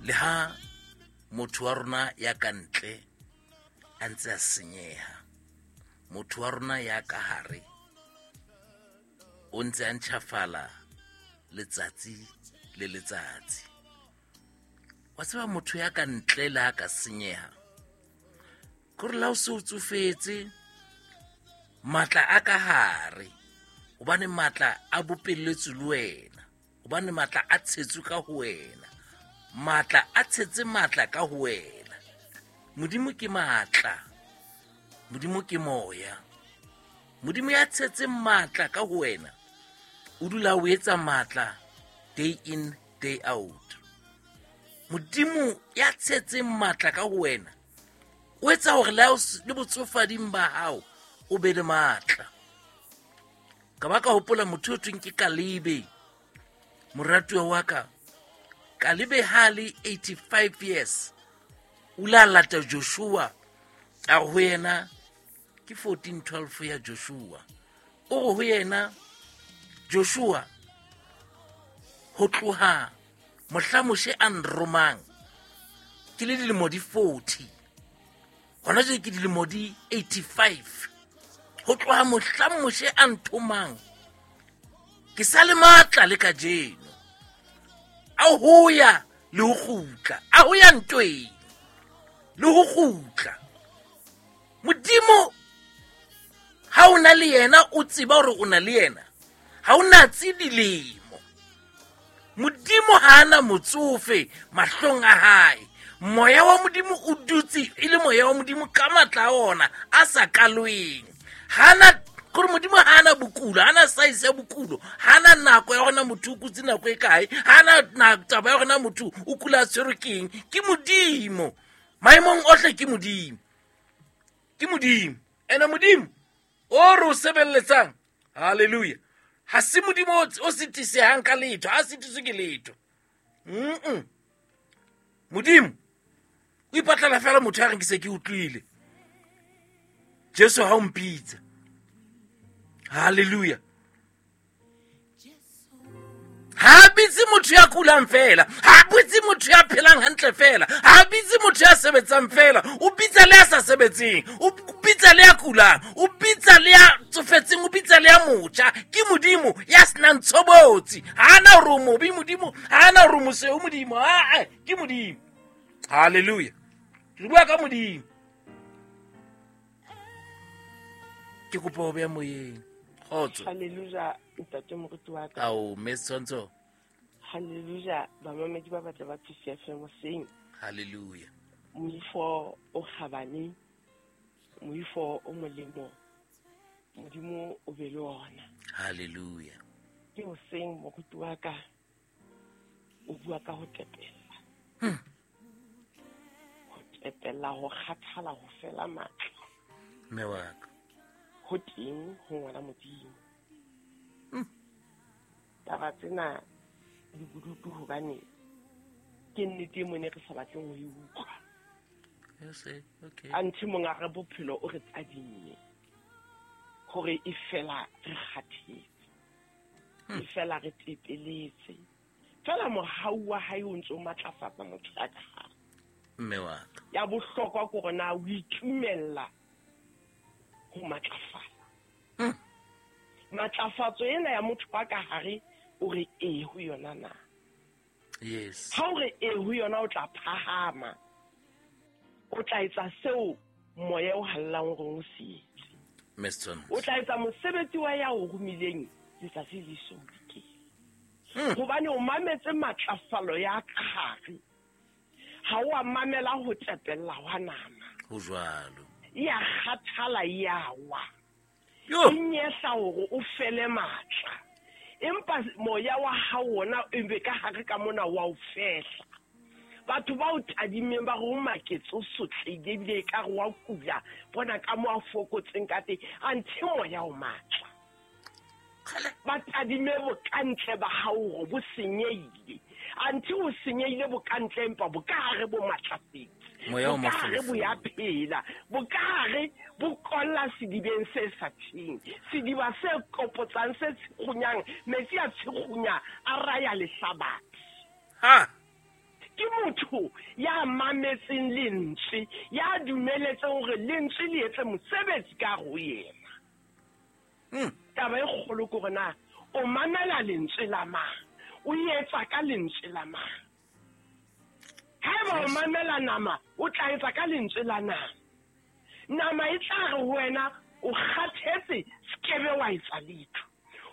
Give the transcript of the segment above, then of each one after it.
Le ha motho wa rona ya ka ntle a ntse a senyeha, motho wa rona ya ka hare o ntse a ntjhafala letsatsi le letsatsi. Wa tseba motho ya ka ntle le ha ka senyeha, kore la o se o tsofetse, matla a ka hare, hobane matla a bopelletswe le wena, hobane matla a tshetswe ka ho wena, matla a tshetse matla ka ho wena. Modimo ke matla, Modimo ke moya. Modimo ya tshetseng matla ka ho wena o dula o etsa matla day in day out. Modimo ya tshetseng matla ka ho wena o etsa hore le botsofading ba hao o be le matla. Ka ba ka hopola motho o thweng ke Kalebe, moratuwa wa ka. Kalebe ha le 85 years o ile a lata Joshua, a re ho yena, ke 14:12 ya Joshua, o re ho yena, Joshua, ho tloha mohla Moshe a nromang ke le dilemo di 40, hona jwale ke dilemo di 85, ho tloha mohla Moshe a nthomang ke sa le matla le kajeno, a ho ya le ho kgutla, a ho ya ntweng le ho kgutla. Modimo ha o na le yena, o tseba hore o na le yena, ha o natse dilemo. Modimo ha ana motsofe mahlong a hae. Moya wa Modimo o dutse e le moya wa Modimo ka matla a ona a sa kalweng. Ha ana kore Modimo ha ana bokulo, ha ana size ya bokulo, ha ana nako ya hore motho o kutse nako e kae, ha ana taba ya hore motho o kula a tshwerwe ke eng. Ke Modimo maemong ohle, ke Modimo, ke Modimo. Ene Modimo o re o sebeletsang, hallelujah, ha se Modimo o sitisehang ka letho, ha sitiswe ke letho. Modimo o ipatlela fela motho ya reng ke se ke utlwile Jesu ha o mpitsa. Hallelujah. Ha bitse motho ya kulang fela, ha bitse motho ya phelang hantle fela, ha bitse motho ya sebetsang fela, o bitsa le ya sa sebetseng, o bitsa le ya kulang, o bitsa le ya tsofetseng, o bitsa le ya motjha. Ke Modimo ya senang tshobotsi. Ha ana hore o mobe Modimo, ha ana hore o mosweu Modimo, aa, ke Modimo. Hallelujah. Re bua ka Modimo. Ke kopa ho beha moyeng. Kgotso. Hallelujah, ntate moruti wa ka. Ao, mme Setshwantsho. Hallelujah, bamamedi ba batle ba Thusea FM hoseng. Hallelujah. Moifo o kgabane, moifo o molemo, Modimo o be le ona. Hallelujah. Ke hoseng moruti wa ka o bua ka ho tepella. Ho tepella, ho kgathala, ho fela matla. Mme wa ka. Ho teng ho ngwana Modimo. Taba tsena di bodutu hobane ke nnete e mone re sa batleng ho e utlwa. Yes, okay. Anthe monga re bophelo o re tadimme hore e fela re kgathetse, e fela re tepeletse, fela mohau wa hae o ntse o matlafatsa motho ya ka hare. Mme wa ka. Ya bohlokwa ke hore na o itumella ho matlafala. Matlafatso ena ya motho wa ka hare o re ee ho yona na? Yes. Ha o re ee ho yona, o tla phahama, o tla etsa seo moya o hallang hore o se etse. Mr. O tla etsa mosebetsi wa ya o romileng letsatsi le so dikele. Hobane o mametse matlafalo ya ka hare, ha o a mamela ho tepella hwa nama. Ho jwalo. Ya kgathala ya wa. Yo. E nyehla hore o fele matla. Empa moya wa hao wona e be ka hare ka mona wa o fehla. Batho ba o tadimeng ba re o maketse, o sotlehile ebile e ka re wa kula, bona ka mo a fokotseng ka teng, anthe moya o matla. Ba tadime bokantle ba hao hore bo senyehile, anthe o senyehile bokantle empa bokahare bo matlafetse. Moya o Bokahare bo ya mafolofolo. phela, bokahare bo kolla sedibeng se sa tjheng, sediba se kopotsang, se tshikgunyang, metsi a tshikgunya a raya lehlabathe. Ha. Ke motho motho ya mametseng lentswe, ya dumeletseng hore lentswe le etse mosebetsi ka ho yena. Taba e kgolo ke hore na o mamela lentswe la mang, o etsa ka lentswe la mang. Haeba o mamela nama, o tla etsa ka lentswe la nama. Nama e tla re ho wena o kgathetse, sekebe wa etsa letho.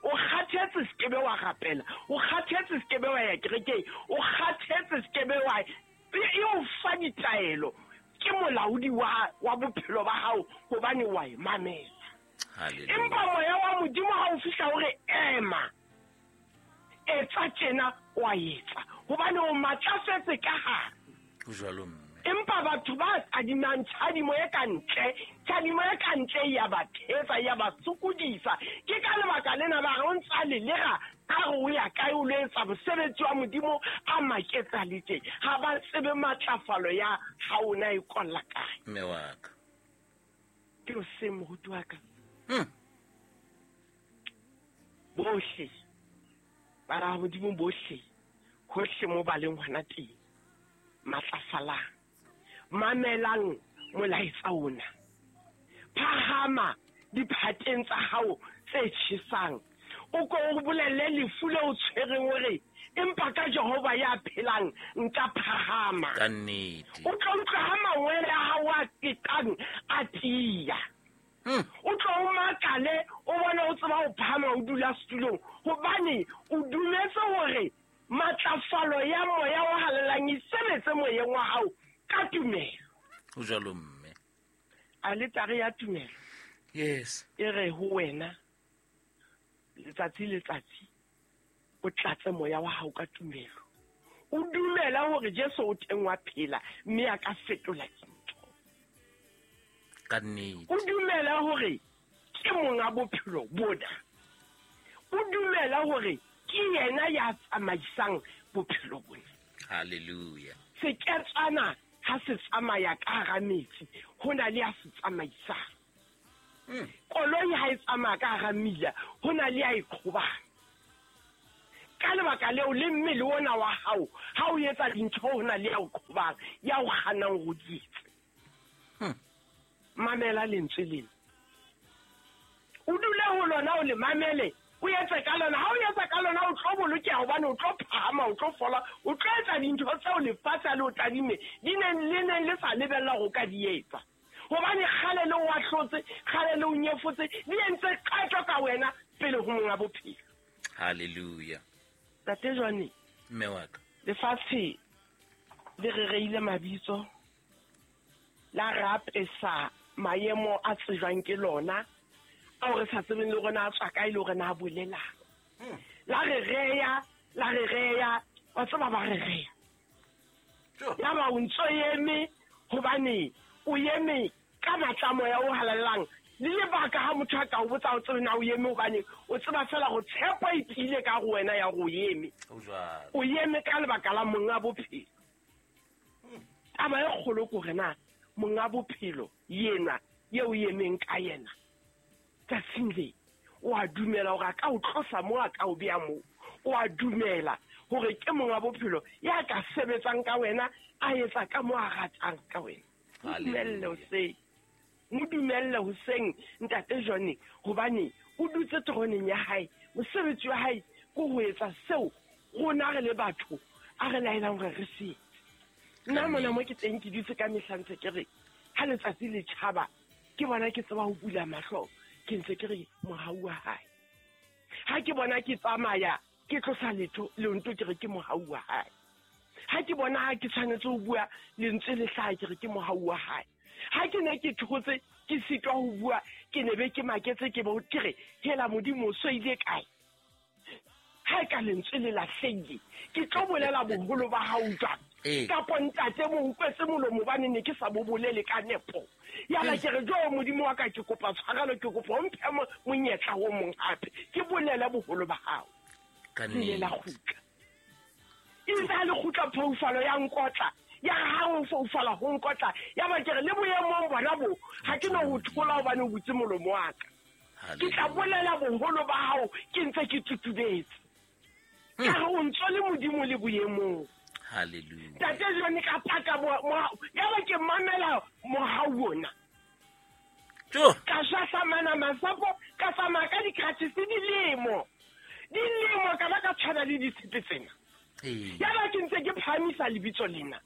O kgathetse, sekebe wa rapela. O kgathetse, sekebe wa ya kerekeng. O kgathetse, sekebe wa e o fa ditaelo. Ke molaodi wa bophelo ba hao hobane wa e mamela. Empa moya wa Modimo ha o fihla hore ema, etsa tjena, wa etsa hobane o matlafetse ka hare. Jwalo mme. Empa batho ba tadimang tjhadimo e ka ntle, tjhadimo e ka ntle ya ba thetsa, ya ba sokodisa. Ke ka lebaka lena ba re o ntsa lelera a re o ya kae o lo etsa mosebetsi wa Modimo a maketsa le tje. Ha ba tsebe matlafalo ya ha ona e kolla kae. Mme wa ka. Ke o se moruti wa ka. Bohle bara ba Modimo bohle, hohle mo ba leng hona teng, matlafalang, mamelang molaetsa ona. Phahama diphateng tsa hao tse tjhesang, o ko o bolelle lefu le o tshwereng hore empa ka Jehova ya phelang nka phahama. Ka nnete. O tlo utlwa ha mangwele a hao a qeqang a tiya. O tlo o makale, o bone o tseba ho phahama o dula setulong, hobane o dumetse hore matlafalo ya moya o halalelang e sebetse moyeng wa hao ka tumelo. Ho jwalo mme. Aletare ya tumelo. Yes. E re ho wena letsatsi letsatsi o tlatse moya wa hao ka tumelo. O dumela hore Jesu o teng wa phela mme a ka fetola dintho. Ka nnete. O dumela hore ke monga bophelo bona. O dumela hore ke yena ya tsamaisang bophelo bona. Hallelujah. Seketswana ha se tsamaya ka hara metsi, ho na le ya se tsamaisang. Koloi ha e tsamaya ka hara mmila, ho na le ya e qhobang. Ka lebaka leo le mmele ona wa hao, ha o etsa dintho ho na le ya o qhobang, ya o kgannang ho di etsa. Mamela lentswe lena. O dule ho lona, o le mamele, o etse ka lona. Ha o etsa ka lona, o tlo bolokeha hobane o tlo phahama, o tlo fola, o tlo etsa dintho tseo lefatshe le o tadime di neng le neng le sa lebella ho ka di etsa. Hobane kgale le o ahlotse, kgale le o nyefotse, di entse qeto ka wena pele ho monga bophelo. Hallelujah. Tate Johnny, mme wa ka. Lefatshe le re reile mabitso, la rapesa maemo a tsejwang ke lona, ao re sa tsebeng le rona a tswa kae le hore na a bolelang. La re reya, la re reya, wa tseba ba re reya. Ya ba o ntso eme hobane o eme ka matla moya o halalelang. Le lebaka ha motho a ka o botsa o tsebe na o eme hobane o tseba fela go tshepo e tiile ka go wena ya go eme. O eme ka lebaka la monga bophelo. Taba e kgolo ke hore na monga bophelo yena eo o emeng ka yena tsatsing le, o a dumela hore a ka o tlosa moo, a ka o beha moo. O a dumela hore ke monga bophelo ya ka sebetsang ka wena, a etsa ka moo a ratang ka wena. Mo dumelle hoseng. Mo dumelle hoseng, Ntate Johnny, hobane o dutse teroneng ya hae. Mosebetsi wa hae ke ho etsa seo rona re le batho a re laelang hore re se etse. Nna mona mo ke teng ke dutse ka mehla ntse ke re ha letsatsi le tjhaba ke bona ke tseba ho bula mahlo, ke ntse ke re mohau wa hae. Ha ke bona ke tsamaya ke tlosa letho leonto ke re ke mohau wa hae. Ha ke bona ha ke tshwanetse ho bua lentswe le hlaha ke re ke mohau wa hae. Ha ke ne ke thotse ke sitwa ho bua ke ne be ke maketse ke bo ke re hela Modimo o so ile kae. Ha e ka lentswe le lahlehile ke tlo bolela boholo ba hao jwang? Kapo ntate mo utlwetse molomo hobane ne ke sa bo bolele ka nepo. Yaba ke re jo Modimo wa ka ke kopa tshwarelo, ke kopa o mphe monyetla o mong hape ke bolele boholo ba hao. Ka Le la kgutla. E sa le kgutla phoufalo ya nkotla. Ya ha o foufala ho nkotla. Ya ba ke re le boemong bona bo ha ke no ho thola hobane o butse molomo wa ka. Ke tla bolela boholo ba hao ke ntse ke tutubetse. Ka re o ntso le Modimo le boemong. Hallelujah. Tate John ka paka yaba ke mamela mohau ona. Ka shahlamana masapo, ka tsamaya ka di-crutches dilemo. Dilemo ka ba ka tshwana le ditshepe tsena. Yaba ke ntse ke phahamisa lebitso lena.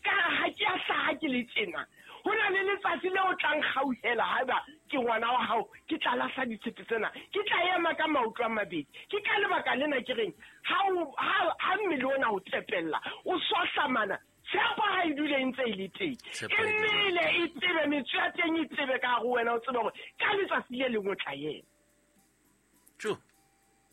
Ka ha ke a hlaha ke le tjena. Ho na le letsatsi le o tlang kgauhela haeba ke ngwana wa hao, ke tla lahla ditshepe tsena. Ke tla ema ka maoto a mabedi. Ke ka lebaka lena ke reng, ha mmele ona o tepella, o swahlamana, tshepo ha e dule e ntse e le teng. E mmele e tsebe, metso ya teng e tsebe ka hare ho wena, o tsebe hore ka letsatsi le leng o tla ema.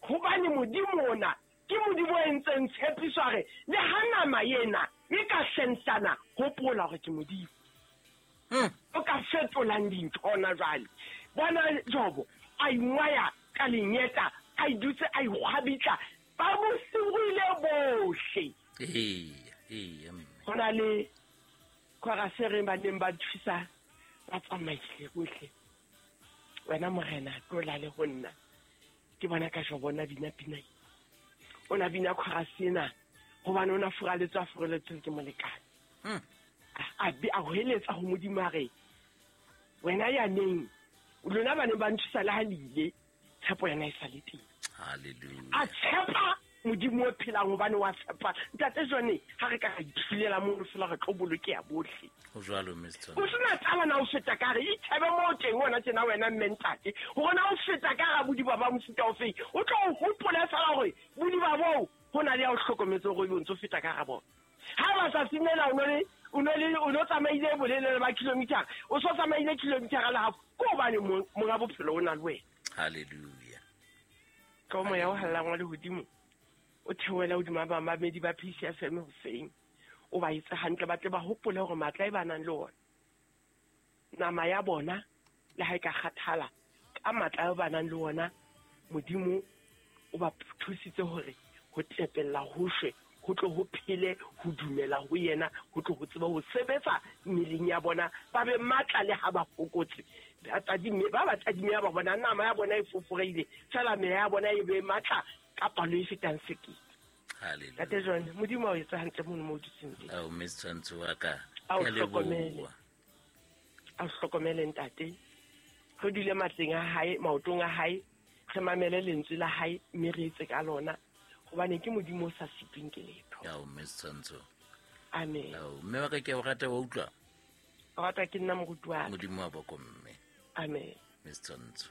Hobane Modimo ona ke Modimo o entseng tshepiso a re, le ha nama ena e ka hlensana, hopola hore ke Modimo. O ka fetolang dintho hona jwale. Bona Jobo a ingwaya ka lenyeta, a idutse a ikgwabitla, ba mo sirile bohle. Ho na le chorus e reng ba neng ba thusa ba tsamaile bohle. Wena Morena tlola le ho nna. Ke bona ka Jobo na bina pina. O na bina chorus ena hobane o na furaletswe a furaletswe ke molekane. A be a hweletsa ho Modimo a re, wena ya neng lona ba neng ba nthusa le ha le ile, tshepo yona e sa le teng. Hallelujah. A tshepa Modimo o phelang hobane wa tshepa. Ntate John, ha re ka ra ithulela mono fela re tlo bolokeha bohle. Ho jwalo, Mister. O sena taba na o feta ka re, ithebe moo teng hona tjena wena mme ntate. Hore na o feta ka ra bodiba ba mofuta o feng, o tlo o hopole fela hore bodiba boo ho na le ya o hlokometse hore o ntso feta ka ra bona. Ha ba sa simela o no le, o no le, o no tsamaile bolelele ba kilometer, o so tsamaile kilometer le half, ke hobane monga bophelo o na le wena. Hallelujah. Ka moya o hallang wa lehodimo, o theohela hodima bamamedi ba PCFM hoseng. O ba etse hantle, ba tle ba hopole hore matla e ba nang le ona, nama ya bona le ha e ka kgathala, ka matla a ba nang le ona, Modimo o ba thusitse hore ho tepella ho shwe, ho tlo ho phele, ho dumela ho yena, ho tlo ho tseba ho sebetsa mmeleng ya bona, ba be matla le ha ba fokotse. Ba tadime, ba ba tadime ya ba bona nama ya bona e foforeile, fela meya ya bona e be matla ka palo e fetang sekete. Hallelujah. Ntate John, Modimo a o etse hantle mono mo o dutseng teng. Ao, Miss Tshwantsho wa ka. A o Ke a leboha. hlokomele. A o hlokomele ntate. Re dule matleng a hae, maotong a hae, re mamele lentswe la hae mme re etse ka lona. Hobane ke Modimo o sa sitweng ke letho. Ao, Miss Tshwantsho. Amen. Ao, mme wa ka ke a o rata, wa utlwa? O rata ke nna moruti wa ka. Modimo wa boko mme. Amen. Miss Tshwantsho.